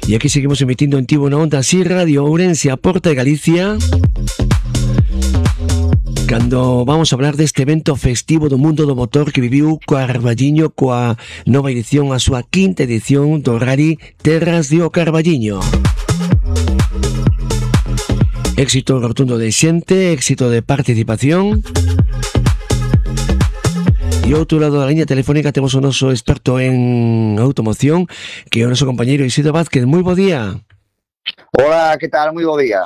E aquí seguimos emitindo en Tivo na Onda así Radio Ourense, a Porta de Galicia, cando vamos a hablar deste evento festivo do mundo do motor que viviu Carballiño coa nova edición, a súa quinta edición do Rally Terras de O Carballiño. Éxito rotundo de xente, éxito de participación. E ao outro lado da liña telefónica temos o noso experto en automoción, que é o noso compañeiro Isidro Vázquez. Moi bo día. Hola, que tal? Moi bo día.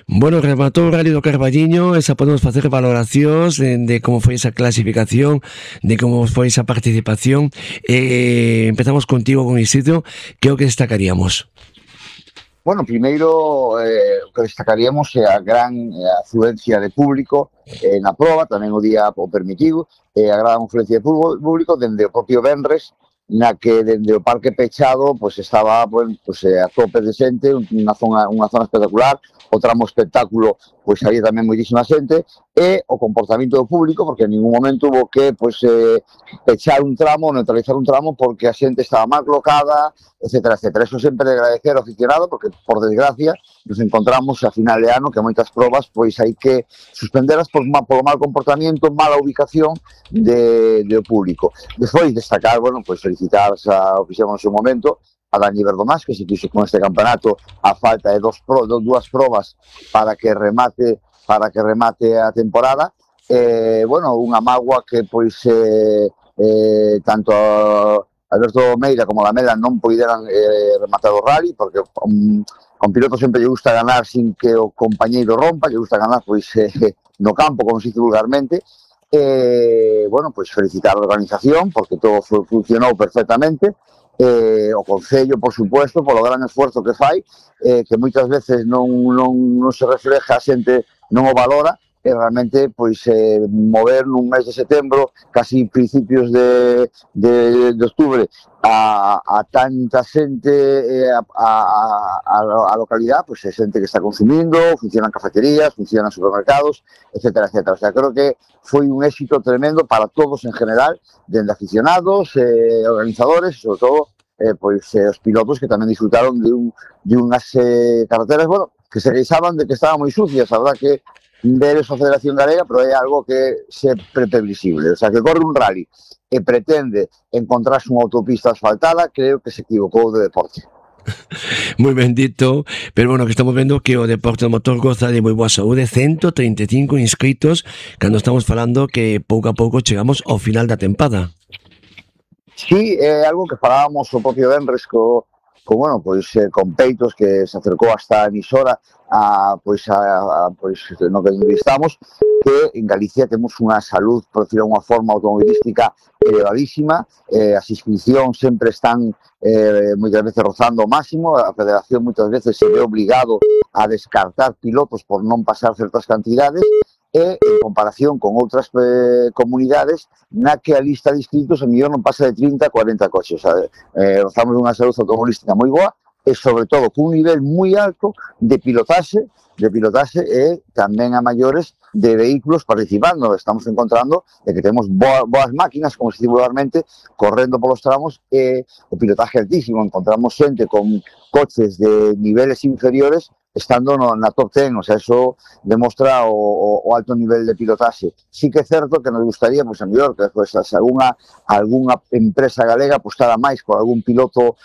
Bueno, rematou o Rally do Carballiño, esa podemos facer valoracións de como foi esa clasificación, de como foi esa participación. Empezamos contigo, con Isidro, que é o que destacaríamos? Bueno, primeiro, o que destacaríamos é a gran afluencia de público na proba, tamén o día o permitido, a gran afluencia de público dende o propio venres, na que dende o parque pechado pues estaba pues, a tope de xente, unha zona espectacular, o tramo espectáculo pois había tamén moitísima xente, e o comportamento do público, porque en ningún momento hubo que pechar un tramo, neutralizar un tramo, porque a xente estaba mal colocada, etcétera, etcétera. Eso sempre de agradecer ao aficionado, porque, por desgracia, nos encontramos a final de ano que moitas probas pois hai que suspenderas por mal comportamento, mala ubicación do público. Despois destacar, bueno, pois felicitar o que fixemos no seu momento, a Dani Verdomás, que se fixo con este campeonato a falta de dúas probas para que remate a temporada. Bueno, unha mágoa que pois tanto Alberto Meira como Lamela non poideran rematar o rally, porque con piloto sempre lle gusta ganar sin que o compañeiro rompa, lle gusta ganar pois no campo, como se dice vulgarmente. Bueno, pois felicitar a organización, porque todo funcionou perfectamente. O Concello, por supuesto, polo gran esforzo que fai, que moitas veces non se refleja, a xente non o valora, e realmente pois mover nun mes de setembro, casi principios de octubre, a tanta xente a localidade, pois é xente que está consumindo, funcionan cafeterías, funcionan supermercados, etcétera, etcétera. O sea, creo que foi un éxito tremendo para todos en general, dende aficionados, organizadores, e sobre todo pois os pilotos que tamén disfrutaron de unhas carreteras, bueno, que se queixaban de que estaban moi sucias. A verdad que ver esa Federación Galega, pero é algo que sempre previsible. O sea, que corre un rally e pretende encontrarse unha autopista asfaltada, creo que se equivocou de deporte. Moi ben dito, pero bueno, que estamos vendo que o deporte do motor goza de moi boa saúde, 135 inscritos, cando estamos falando que pouco a pouco chegamos ao final da tempada. Sí, é algo que falábamos o propio venres bueno, pois con Peitos, que se acercou hasta a emisora pois no que entrevistamos, que en Galicia temos unha salud, por decirlo de unha forma, automobilística elevadísima. As inscripcións sempre están moitas veces rozando o máximo, a Federación moitas veces se ve obligado a descartar pilotos por non pasar certas cantidades, e en comparación con outras comunidades na que a lista de inscritos a mellor non pasa de 30 a 40 coches. Rozamos unha salud automobilística moi boa e, sobre todo, cun nivel moi alto de pilotaxe e tamén a maiores de vehículos participando. Estamos encontrando que temos boas máquinas, como se dice vulgarmente, correndo polos tramos, e o pilotaje altísimo. Encontramos xente con coches de niveles inferiores estando na top 10, o sea, eso demostra o alto nivel de pilotaxe. Sí que é certo que nos gustaría, pois, a mellor, que pues, algunha empresa galega apostara máis por algún piloto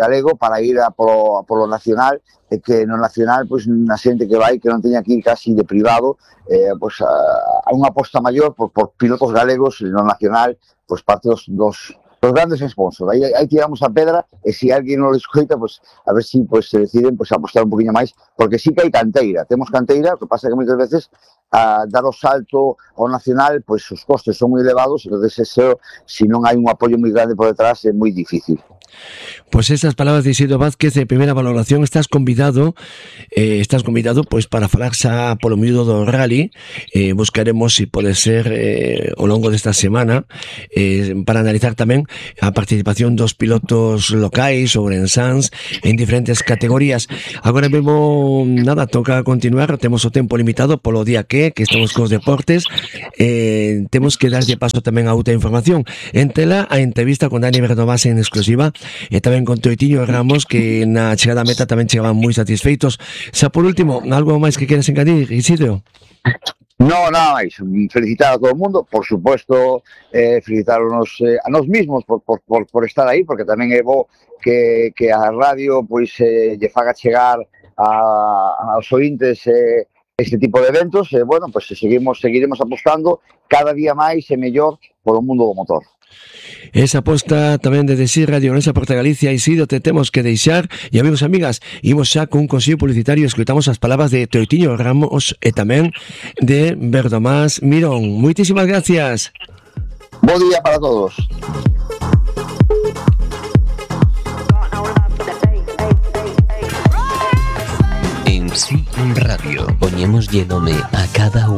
galego para ir polo nacional, e que no nacional, pois, na xente que vai, que non teña que ir casi de privado, pois, a unha aposta maior por pilotos galegos no nacional, pois, parte dos grandes sponsors. Aí tiramos a pedra, e se alguén non lo escoita, pues, a ver si pues, se deciden pues, apostar un poquinho máis, porque sí que hai canteira, temos canteira, o que pasa é que moitas veces dar o salto ao nacional, pues, os costes son moi elevados, entonces eso, se non hai un apoio moi grande por detrás, é moi difícil. Pues esas palabras de Isidro Vázquez, de primeira valoración. Estás convidado pois para falar xa polo miúdo do rally. Buscaremos se pode ser ao longo desta semana para analizar tamén a participación dos pilotos locais ourensans en diferentes categorías. Agora mesmo nada, toca continuar, temos o tempo limitado polo día que é, que estamos cos deportes, temos que darlle paso tamén a outra información. Entela a entrevista con Dani Verdomás en exclusiva e tamén con Toitiño Ramos, que na chegada a meta tamén chegaban moi satisfeitos. Xa por último, algo máis que queres engadir, Isidro? No, nada máis. Felicitar a todo o mundo, por supuesto, felicitarnos a nós mismos por estar aí, porque tamén é bo que a radio pois lle faga chegar aos ointes este tipo de eventos, e bueno, pois seguiremos apostando cada día máis e mellor polo mundo do motor. Esa aposta tamén de Desir Radio Orense Porta Galicia, Isidro, te temos que deixar, e amigos e amigas, imos xa cun consello publicitario, escoitamos as palabras de Toitiño Ramos e tamén de Verdomás Mirón. Moitísimas gracias. Bo día para todos. En Sí Radio poñémoslle nome a cada